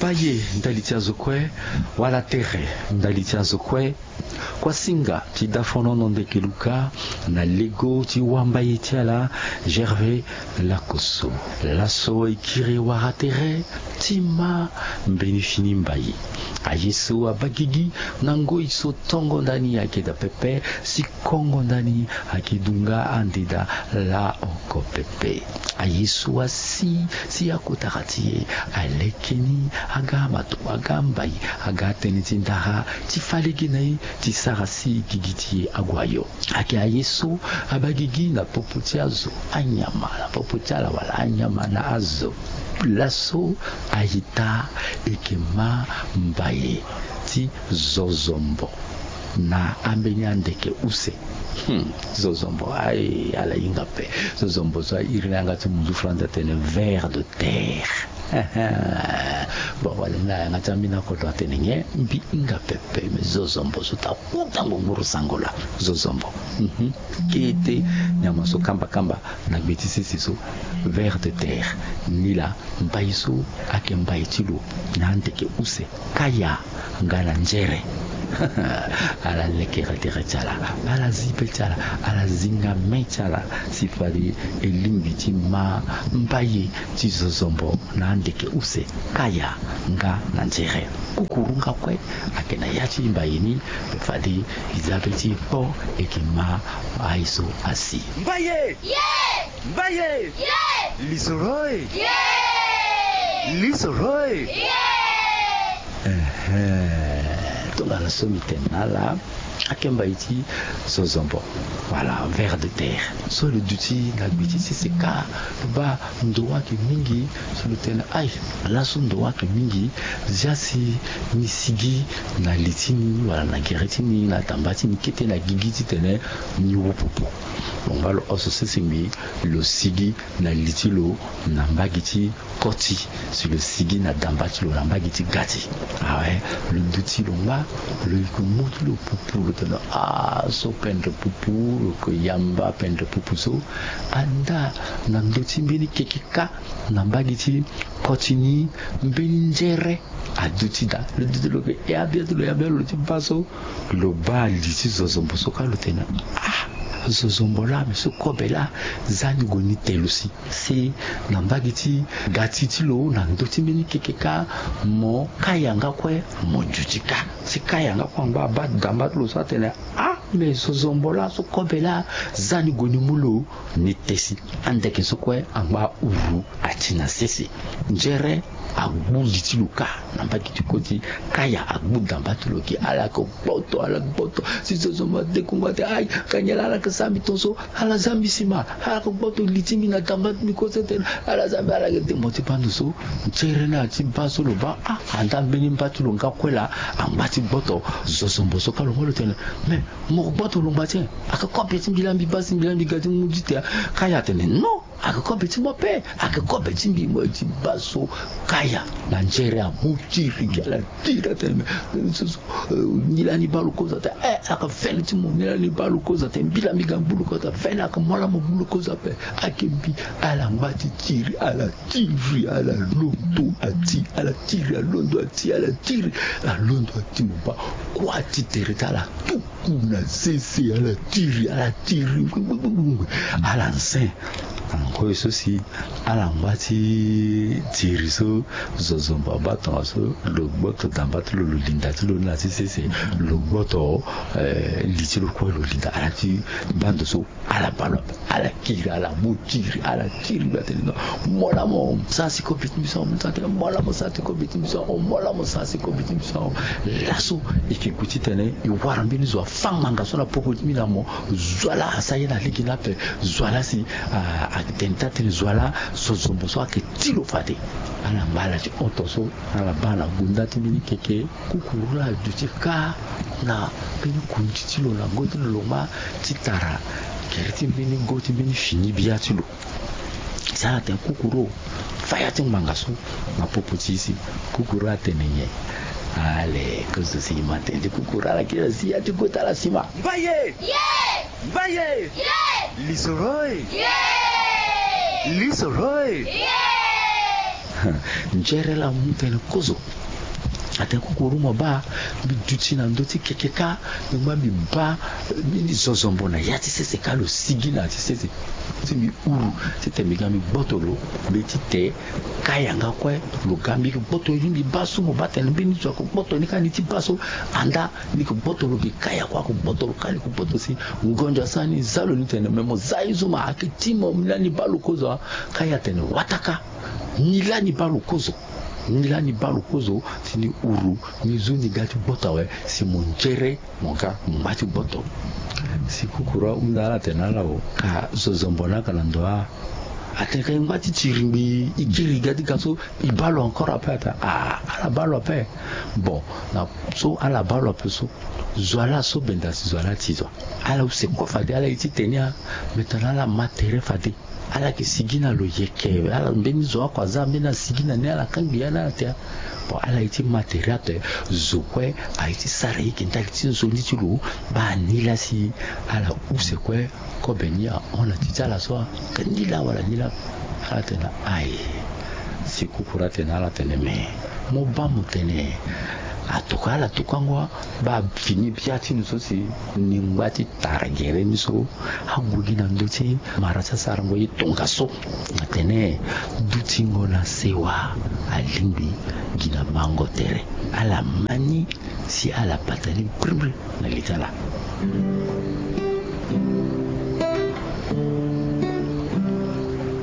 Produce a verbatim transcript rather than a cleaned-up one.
Mbaye ndali ti azo kue, wala tere ndali ti azo kue. Kuasinga ti dafonono ndeke luka na lego ti wambaye ti ala Gervais Lakosso. Laso e kiri wara tere ti ma mbeni fini mbaye. Aye so abaa gigi na ngoi so tongo ndani ayeke daa pepe si kongo ndani ayeke dunga ande daa laa oko pepe. Aye so asi si akotara ti e aleke ni aga mato aga mbai aga tënë ti ndara ti fa lege na e ti sara si gigi ti e ague ayo. Ayeke aye so abaa gigi na popo ti azo anyama na popo ti ala wala anyama na azo. Laso ayita eke ma mbaye ti zozombo na ambeni andeke use. Hmm, zozombo aye ala hinga pe. Zozombo so airi na yanga ti munzu flandre atene ver de terre. Bon wala ni na yanga ti ambeni akodro atene nyen mbi hinga pepe me zozombo so ta kuta ngbongburu sango laa zozombo. Mhm. Kete nyama so kamba kamba na gbe ti sese so ver de terre. Ni laa mbai so ayeke mbai ti lo na andeke use kaya nga na nzere. Ala lekere tere ti ala, ala zi be ti ala, ala zi nga me ti ala si fade e lingbi ti ma mbaye ti zozombo na andeke use kaya nga na nzere. Kukuru nga kue ayeke na ya ti mbaye ni. Fade e za be ti e po e yeke ma aye so asi. Mbaye! Mbaye! Lisoro e! Lisoro e! Ehe. Tongana so mbi tene na ala, ayeke mbai ti zozombo. Voilà, ver de terre. So lo duti na gbe ti sese ka, lo baa ndo ayeke mingi. So lo tene aï, laso ndo ayeke mingi. Zia si ni sigi na li ti ni wala na gere ti ni na damba ti ni kete na gigi titene ni wu pupu. Lo ngba lo oso sese ngbii, lo sigi na li ti lo na mbage ti koti, si lo sigi na damba ti lo na mbage ti gati. Awe, lo duti lo ngba, lo yeke mu ti lo pupu, lo tene ah so pendre pupu, lo yeke yamba pendre pupu so. Andaa na ndö ti mbeni keke kâ na mbage ti koti ni, mbeni nzere aduti daa. Lo duti lo yeke ya bia ti lo ya bia lo ti baa so. Lo baa li ti zozombo so kâ lo tene ah, zozombo laa me so kobe laa, za ni gue ni te lo si. Si na mbage ti gati ti lo na ndö ti mbeni keke kâ, mo kaya nga kue mo duti kâ. Si kaya nga kue angba abaa damba ti lo so atene ah, me zozombo laa so kobe laa, za ni gue ni mu lo ni te si. Andeke so kue angba uru ati na sese. Nzere agbu li ti lo kâ na mbage ti koti. Kaya agbu damba ti lo gi, ala yeke gboto, ala gboto. Si zozombo ade kongo ate aï, ka nyen laa ala yeke sara mbi tongaso? Ala za mbi sima, ala yeke gboto li ti mbi na damba ti mbi kose tene. Ala za mbi, ala yeke dengo ti baa ndo so. Nzere ni ati baa so lo baa ah, andaa mbeni mba ti lo nga kue laa angba ti gboto. Zozombo so kâ lo ngba lo tene me mo gboto lo ngba ti en. Ayeke kobe ti mbi laa mbi baa si mbi laa mbi ga ti mu ti te. Kaya atene non. Ayeke kobe ti mo pe, ayeke kobe ti mbi. Mo ye ti baa so kaya na nzere amu tiri gi ala tiri atene me so so. Ni laa ni baa lo kozo ate eh, ayeke fene ti mo. Ni laa ni baa lo kozo ate mbi laa mbi ga gbu lo kozo ate fene, ayeke mo laa mo gbu lo kozo ape. Ayeke mbi. Ala ngba ti tiri, ala tiri, ala londo ati, ala tiri, alondo ati, ala tiri, alondo ati mo baa. Kua ti tere ti ala tu ku na sese, ala tiri, ala tiri. Ala nze. Angoi so si ala ngba ti tiri so, zozombo abaa tongaso, lo gboto damba ti lo, lo linda ti lo ni na ti sese. Lo gboto eh, li ti lo kue lo linda. Ala ti baa ndo so. Ala baa lo ape, ala kiri, ala mu tiri, ala tiri. Mbi atene non, mo laa mo sara si kobe ti mbi so. Mo laa mo sara si kobe ti mbi so. Mo laa mo sara si kobe ti mbi so. Laso e yeke gue titene e wara mbeni zo afa ngbanga so na popo ti mbi na mo. Zo wa laa asara ye na lege ni ape. Zo wa laa si atene ti atene zo wa laa zozombo so ayeke ti lo fade. Ala ngba ala ti hon tongaso. Ala baa na gunda ti mbeni keke. Kukuru laa aduti kâ na mbeni kundi ti lo na ngoi ti lo lo ngba ti tara gere ti mbeni go ti mbeni fini bia ti lo. Si ala tene kukuru fa ya ti ngbanga so na popo ti e si. Kukuru atene nyen? Ale kozo si e ma tene ti kukuru ala kiri asi ya ti kota ala sima. Mbaye! Mbaye! Lisoro e! Lisoro e! Njere laa amu tene kozo. Atene kukuru mo baa, mbi duti na ndö ti keke kâ, mbi ngba mbi baa mbeni zozombo na ya ti sese kâ, lo sigi na ya ti sese. Si mbi uru titene mbi ga mbi gboto lo, mbeti te kâ yanga kue lo ga mbi gboto ni, mbi baa so mo baa tene mbeni zo ako gboto ni kâ ni ti baa so. Anda ni ko gboto lo, mbi kâ ya kue ako gboto lo kâ ni ko gboto si. Ngonzo asara ni, za lo ni tene me mo za ye zo ma, ayeke ti mo, nilaa ni baa lo kozo. Kâ ye atene wataka, nilaa ni baa lo kozo. Nilaa ni baa lo kozo, si ni uru, ni zu ni ga ti gboto awe, si mo njere mo ga mo ngba ti gboto. Si kukuru ahunda ala tene na ala o, ka zozombo ni aka na ndo a. Atene ka e ngba ti tiri ngbii, e kiri ga ti ga so, e baa lo encore ape? Atene ah, ala baa lo ape. Bon, na so ala baa lo ape so, zo ala so benda si zo ala ti zo. Ala use kue fade, ala ye ti tene a. Me tongana ala ma tere fade, ala yeke sigi na lo yeke, ala mbeni zo oko aza mbeni asigi na ni, ala kangbi ya ni ala tia. Bon, ala ye ti ma tere ape, zo kue aye ti sara ye yeke ndali ti nzoni ti lo. Baa ni laa si ala use kue kobe ni ahon na ti ti ala so, aka ni laa wala ni laa. Ala tene aye. Si kukuru atene na ala tene me mo baa mo tene atokua ala tokuango. Baa fini bia ti ni so si ni ngba ti tara gere ni so, ague gi na ndö ti mara ti asarango ye tongaso. Atene dutingo na sewa alingbi gi na mango tere. Ala ma ni si ala bata ni brimbri na li ti ala.